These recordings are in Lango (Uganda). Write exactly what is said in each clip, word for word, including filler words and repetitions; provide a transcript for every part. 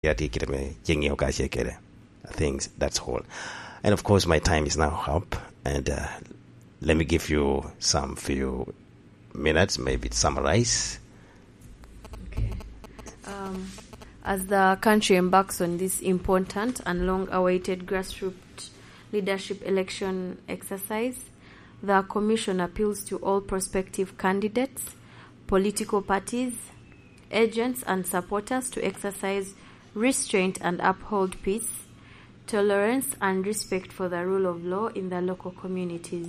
Yati kite me chengi okache kede. I think that's all. And of course, my time is now up. And uh, let me give you some few minutes, maybe to summarize. Okay. Um, as the country embarks on this important and long-awaited grassroots leadership election exercise, the Commission appeals to all prospective candidates, political parties, agents, and supporters to exercise restraint and uphold peace, tolerance, and respect for the rule of law in the local communities.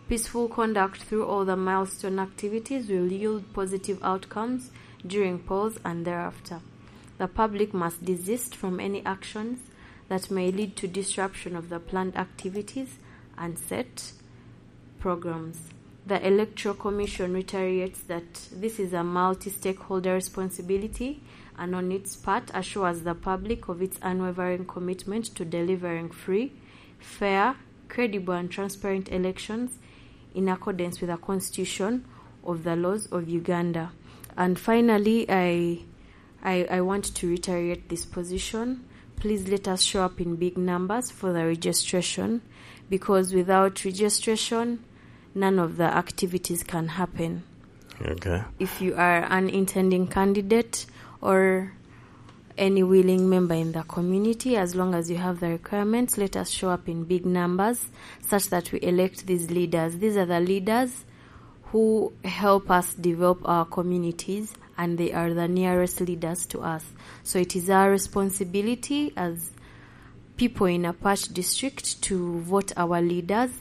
Peaceful conduct through all the milestone activities will yield positive outcomes during polls and thereafter. The public must desist from any actions that may lead to disruption of the planned activities and set programs. The Electoral Commission reiterates that this is a multi-stakeholder responsibility and on its part assures the public of its unwavering commitment to delivering free, fair, credible and transparent elections in accordance with the Constitution of the laws of Uganda. And finally, I, I, I want to reiterate this position. Please let us show up in big numbers for the registration, because without registration, none of the activities can happen. Okay. If you are an intending candidate or any willing member in the community, as long as you have the requirements, let us show up in big numbers such that we elect these leaders. These are the leaders who help us develop our communities, and they are the nearest leaders to us. So it is our responsibility as people in Apac District to vote our leaders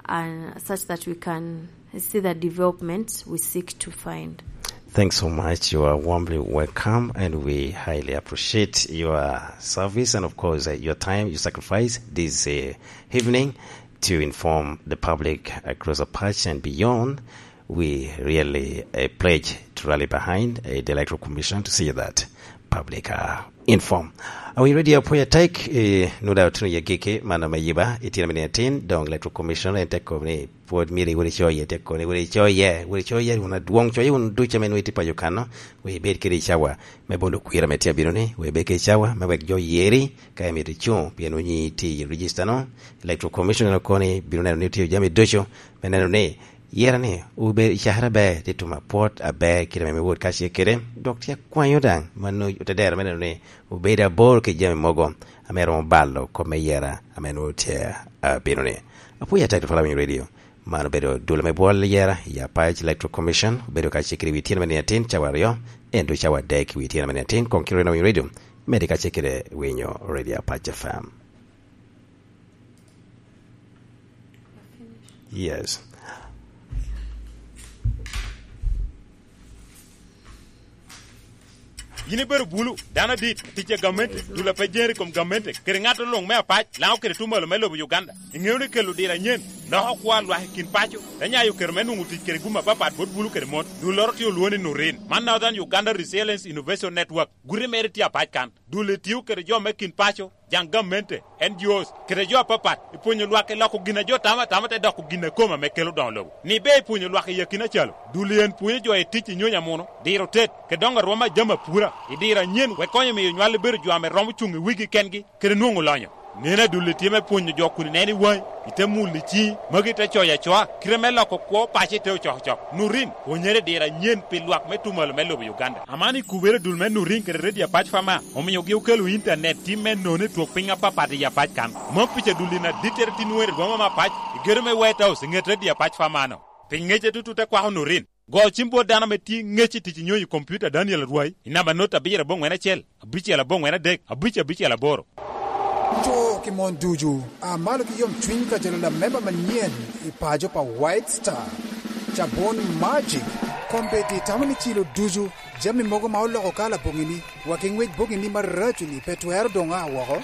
and such that we can see the development we seek to find. Thanks so much. You are warmly welcome, and we highly appreciate your service and, of course, uh, your time, your sacrifice this uh, evening to inform the public across Apac and beyond. We really uh, pledge to rally behind uh, the Electoral Commission to see that public are informed. Are we ready? Apoya take uh, no doubt no yagike mano me yiba itino mini atin dong Electoral Commission en te koni pwod miri wodi choye te koni wodi choye wodi choye wun adwong choye wun duca men witi payo kano we bed kiri chawa me bolo kwira me tia bino ni we bed kiri chawa me wek jo yeri ka emito chung pien wunyi ti register no Electoral Commission no koni bino neno ni tiyo jami ducu me neno ni yera ni obedo i cakere ber tye tuma pwot aber kite ame wot kacel kede dok tye akwanyo daŋ mano otedero me neno ni obedo abor ki jami mogo ame romo balo kop me yera ame nwoŋo tye abino ni. Apwoyo atek tutwal awinyo redio. Man obedo dul ame bwol yera i Apac Electoral Commission obedo kacel kede wi tyen me nino atin cawa aryo ento cawa adek i wi tyen me nino atin koŋ kiro eno awinyo redio medi kacel kede winyo redio Apac F M. Yes. Yin ibedo bulu, dano adit, tic a gamente, dul a pe jeri kom gamente, kede ŋat oluŋ me apac, laŋo kede tumalo me lobo Uganda. Iŋeo ni kelo diro anyen, loko kwo a lwak i kin paco, te nyayo kero me nwoŋo tic kede gum apapat bot bulu kede mon. Dulloro tye olwoŋo ni Nurin. Man Northern Uganda Resilience Innovation Network, guti mere tye apac kan. Dul etio kede jo me kin paco, jaŋ gamente, N G Os, kede jo apapat, ipwonyo lwak i loko gin a jo tamo atama te doko gin a kome ame kelo doŋo lobo. Ni be ipwonyo lwak i akina calo, dul en pwonyo jo i tic i nyonyo amuno, diro tet, kede doŋo arwom a jami apura, i diro anyen wek konyo miyo nywal ebedo jo ame romo cuŋ i wigi kengi, kede nwoŋo lonyo. Neno adul etye me pwonyo jo kun ineno i waŋi, ite mulo i ciŋi, magi ite coyo acoa, kite me loko kwo paco ite ocokocok. Nurin, pwonyere diro anyen pi lwak me tumalo me lobo Uganda. Aman i kubere dul me Nurin kede Redio Apac Fama, omiogi okelo intanet tim me nono i twok piny apapat i Apac kan. Mom pica dul in adittere tin wer i boma me Apac, i gedo me White House, i ŋet Redio Apac Fama no. Pi ŋece tutut te kwako Nurin. Go cim bot dano ame tye ŋec i tic i nyonyo i kompiuta Daniel Arwai i namba not abiro aboŋwen acel, abicel aboŋwen adek, abic abicel aboro. Co ki mon ducu, a malo ki yom cwiny ka jalo lamemba manyen i paco pa White Star. Cabon Magic, kombeddi tamo ni cilo ducu, jami mogo ma oloko kala boŋini, wa ki ŋwec boŋini maraco-ni pe twero doŋ a woko.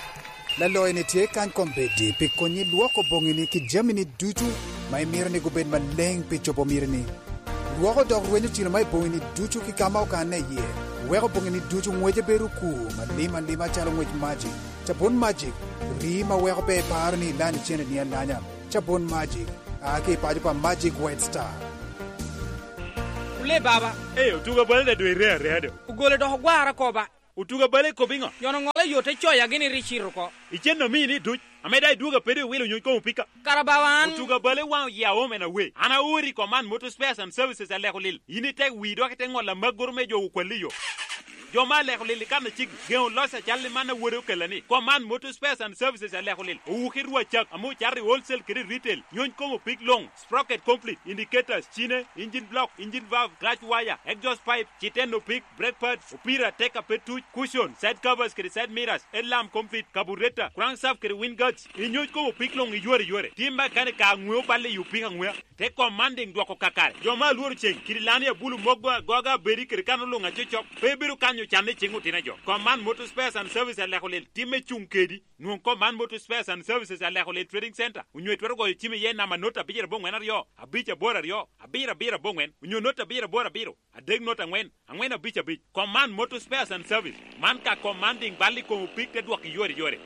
Laloyo-ni tye kany kombeddi pi konyi lwoko boŋini ki jamini ducu ma imito ni gubed maleŋ pi cobo mitini. Lwoko dok rwenyo cilo ma i boŋini ducu ki ka ma okanne iye. Weko boŋini ducu ŋwece bedo okur malim alima calo ŋwec Magic. Cabun Magic, rii ma weko pe iparo ni ilany icenneni alanya. Cabun Magic, a ki i paco pa Magic White Star. Ole baba. Ee, otugo bal da dwe ire areya do. Ogolo dok ogwara koba. Otuga bale kop iŋo? Nyono ŋolo yo te coya gini ri cito oko. Icen omini duc, ame daŋ idwogo apede iwilo nyony komo pika. Kara bawa an. Otuga bale waŋ oya omen awe. An aori kom man motor spares and services aleko lil. In ite wi dok ite ŋolo amaggoro me jo okwalli yo. Jo ma aleko lil i kan acigi, geŋo loc acal i man awode okella ni. Kom man motor spares and services aleko lil. Owuki rwa cak, ame ocato i wholesale kede retail. Nyony komo pik loŋ. Sprocket complete, indicators, cine, engine block, engine valve, clutch wire, exhaust pipe, citeno pik, brake pads, opira, teka pe tuc, cushion, side covers kede side mirrors, headlamp complete, carburetor, crankshaft kede wind guards. Inyoc komo pik loŋ iyore yore. Tim mekanik ka aŋweo balle i opik aŋwea. Te kom man diŋ dwoko kakare. Jo ma alworo ceŋ, kidi lani abulu moggo agoga abedi kede kano luŋ acocok, pe bedo kanyo canne i ciŋ otino jo. Kom man motor spares and service aleko lel timme cuŋ kedi. Nwoŋ kom man motor spares and services aleko lel trading center. Onyo itwero goyo cim iye namba not abicel aboŋwen aryo, abic aboro aryo, abiro abiro aboŋwen, onyo not abicel aboro abiro, adek not aŋwen, aŋwen abic abic. Kom man motor spares and service. Man ka kom man diŋ bal i kom opik te dwok iyore yore.